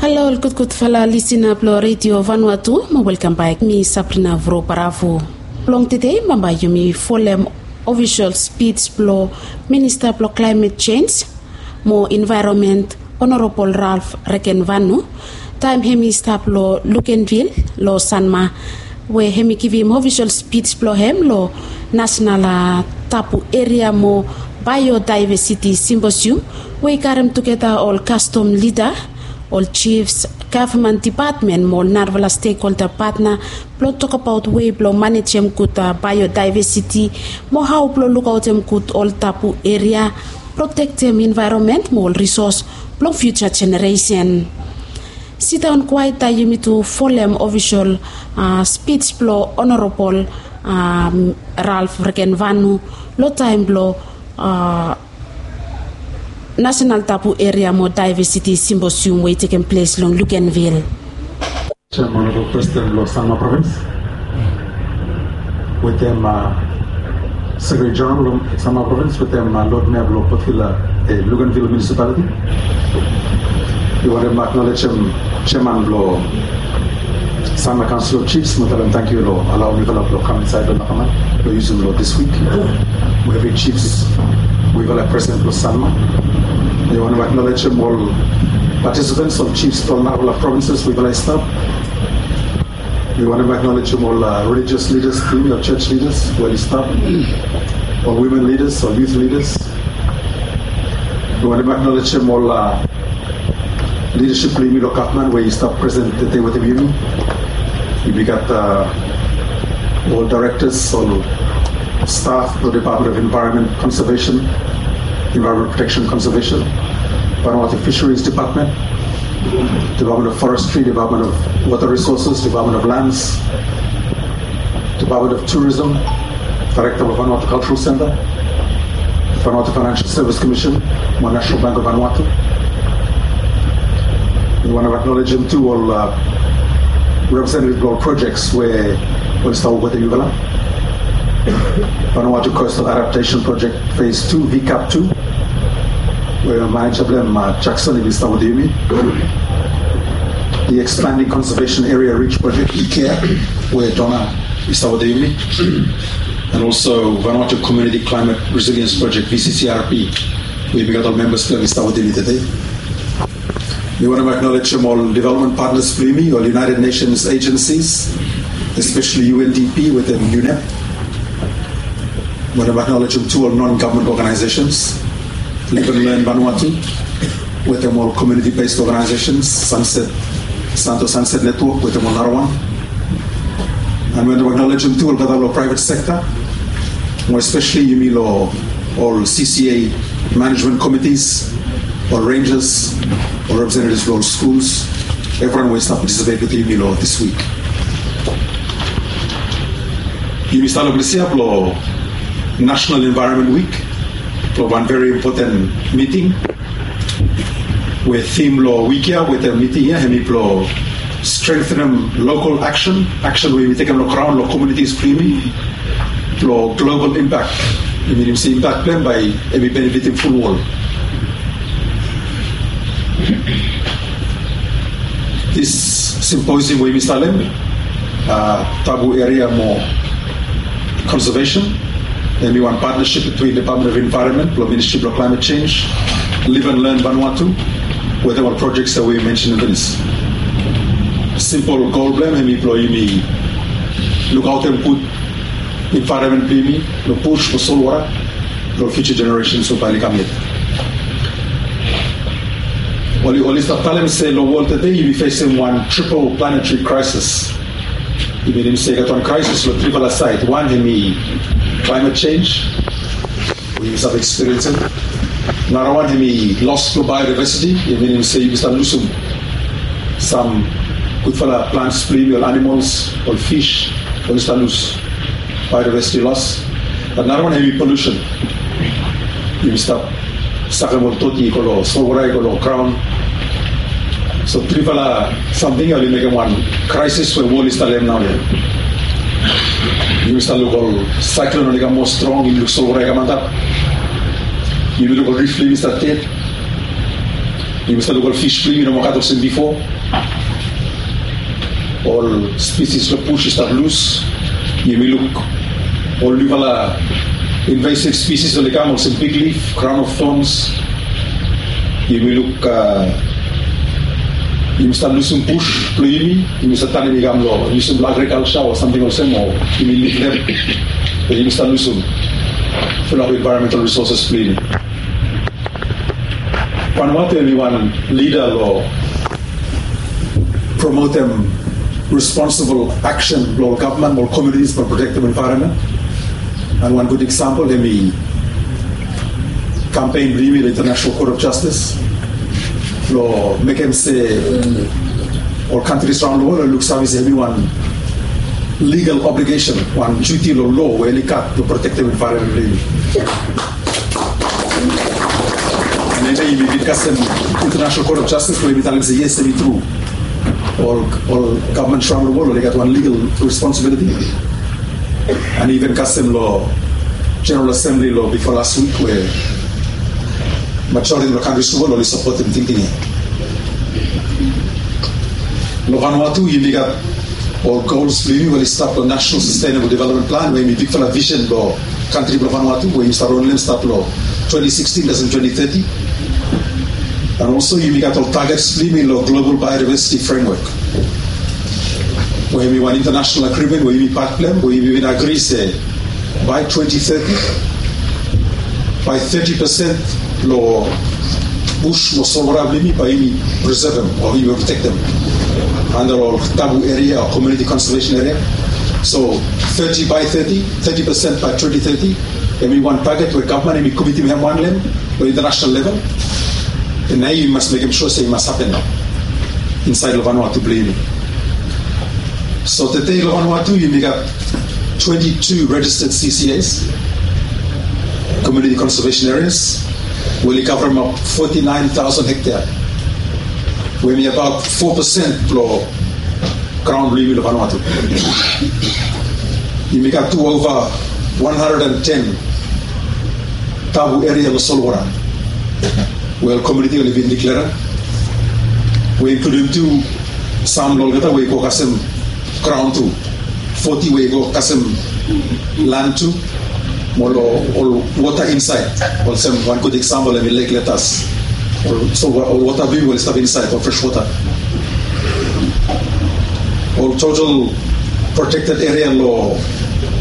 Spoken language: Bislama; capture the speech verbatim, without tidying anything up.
Halo ol gudgudfala lisina blong Redio Vanuatu, mo welkam bak. Mi Sabrina Vro Baravu. Blong tede bambae yumi folem ofisol spij blong Minista blong Klaemet Jenj mo Envaeronmen, Onorabol Ralph Regenvanu, taem hemi stap long Luganville long Sanma, we hemi givim ofisol spij blong hem long Nasenal Tabu Eria mo Baeodaevesiti Simposium, we i karem tugeta ol kastom lida, ol jifs, gavman depatmen mo ol narafala stekholda patna blong tokbaot wei blong manejem gud baeodaevesiti mo hao blong lukaotem gud ol tabu eria, protektem envaeronmen mo ol risos blong fiuja jeneresen. Sidaon kwaet taem yumi tu folem ofisol spij blong Onorabol Ralph Regenvanu long taem blong Nasenal Tabu Eria mo Daevesiti Simposium we i tekem ples long Luganville. Chairman of President blong Sanma Province, wetem Secretary General blong Sanma Province, wetem Lord Mayor blong Port Vila, Luganville Municipality. Mi wantem aknolejem Chairman blong Sanma Council of Chiefs, mo talem tangkiu long alaom mifala blong kam insaed long nakaman blong yusum long dis wik. Mo evri chiefs, mifala presiden blong Sanma. Mi wantem aknolejem ol participants, ol chiefs blong narafala provinces we mifala i stap. Mi wantem aknolejem ol religious leaders, ol church leaders we oli stap, ol women leaders, ol youth leaders. Mi wantem aknolejem ol lidasip blong yumi long gavman we i stap presiden tede wetem yumi. Yumi gat ol directors, ol staff blong Department of Environment Conservation, Environment Protection Conservation, Vanuatu Fisheries Department, Department of Forestry, Department of Water Resources, Department of Lands, Department of Tourism, Director of Vanuatu Cultural Center, Vanuatu Financial Service Commission, mo National Bank of Vanuatu. Mi wantem aknolejem tu ol representative blong ol projects we oli stap wok wetem yufala. Vanuatu Coastal Adaptation Project Phase two, V CAP two, we maneja blong hem Jackson i bin stap wetem yumi. The Expanding Conservation Area Reach Project, ECARE, we Donna i stap wetem yumi. And also Vanuatu Community Climate Resilience Project, VCCRP, we yumi gat ol membas blong hem i stap wetem yumi tede. Mi wantem aknolejem ol development partners blong yumi, ol United Nations agencies, especially UNDP wetem UNEP. Mi wantem aknolejem tu ol non-government organizations, Live and Learn Vanuatu, wetem ol community-based organizations, Sunset, Santo Sunset Network, wetem ol narawan. And mi wantem aknolejem tu olgeta long private sector, mo especially yumi long ol CCA management committees, ol rangers, ol representatives blong ol schools, evriwan we i stap participate wetem yumi long dis wik. Yumi stap long ples ya blong National Environment Week, blong wan very important meeting, we theme blong wik ya wetem meeting ya hemi blong strengthenem local action, action we yumi tekem long graon long communities blong yumi, long global impact. I minim se impact blong hem bae hemi benefitim ful wol. Dis symposium we yumi stap long hem, tabu eria mo conservation, hemi wan partnership between Department of Environment blong Ministry blong Climate Change, Live and Learn Vanuatu, wetem ol projects we yumi mensenem finis. Simpol gol blong hem hemi blong yumi lukaotem gud envaeronmen blong yumi, long bus, long solwota, long future generations we bae oli kam yet. Oli, oli stap talem se long wol tede yumi fesem wan triple planetary crisis. I minim se i gat wan crisis long trifala saed. Wan hemi climate change we yumi stap ekspiriensem. Narawan hemi loss blong biodiversity. I minim se yumi stap lusum sam gudfala plants blong yumi, ol animals, ol fish, oli stap lus. Biodiversity loss. Narawan hemi pollution. Yumi stap sakem ol doti i go long solwota, i go long graon. So trifala samting ya oli mekem wan crisis we wol i stap long hem naoia. Yumi stap luk ol cyclone oli kam moa strong, yumi luk solwota i kam antap. Yumi luk ol rif blong yumi i stap ded. Yumi stap luk ol fis blong yumi i no moa gat olsem bifo. Ol species long bush i stap lus. Yumi luk ol niufala invasive species oli kam olsem big leaf, crown of thorns. Yumi luk, a, yumi stap lusum bush blong yumi. Yumi stap tanim i kam long yusum long agriculture o samting olsem, o yumi luk dem. Be yumi stap lusum fulap environmental resources blong yumi. Vanuatu hemi wan lida long promotem responsible action blong ol gavman mo ol communities blong protektem environment. And wan gud example hemi kampen blong yumi long International Court of Justice blong mekem se ol kantris raon long wol oli luksave se hemi wan legal obligation, wan duty long lo we oli gat blong protektem environment blong yumi. Nede yumi bin kasem International Court of Justice we yumi talem se yes, hemi tru. Ol, ol gavman raon long wol oli gat wan legal responsibility. And even kasem long General Assembly long bifo las wik we majoriti long kantris long wol oli sapotem tingting ya. Long Vanuatu yumi gat ol gols blong yumi we oli stap long National Sustainable Development Plan we hemi bigfala vision blong kantri blong Vanuatu we yumi stap ronlem stap long twenty sixteen kasem twenty thirty. And also yumi gat ol targets blong yumi long Global Biodiversity Framework we hemi wan international agreement we yumi pat blong hem we yumi bin agri se by twenty thirty, by thirty percent long bush mo solwota blong yumi bae yumi preservem o yumi protektem under ol tabu area o community conservation area. So thirty by thirty, thirty percent by twenty thirty, hemi wan target we gavman hemi komitim hem wan long international level. And nao yumi mas mekem sua se i mas hapen nao insaed long Vanuatu blong yumi. So tede long Vanuatu yumi gat twenty-two registered C C As, community conservation areas, we oli kavremap forty-nine thousand hektea we hemi abaot four percent blong graon blong yumi long Vanuatu. Yumi gat tu ova one hundred and ten tabu eria long solwota we ol komuniti oli bin diklera, we inkludim tu sam long olgeta we i go kasem graon tu, forty we i go kasem lan tu, mo long ol wota insaed. Olsem wan gud eksampol hemi Lake Letas, ol, so ol wota blong yumi we oli stap insaed, ol fres wota. Ol total protected area long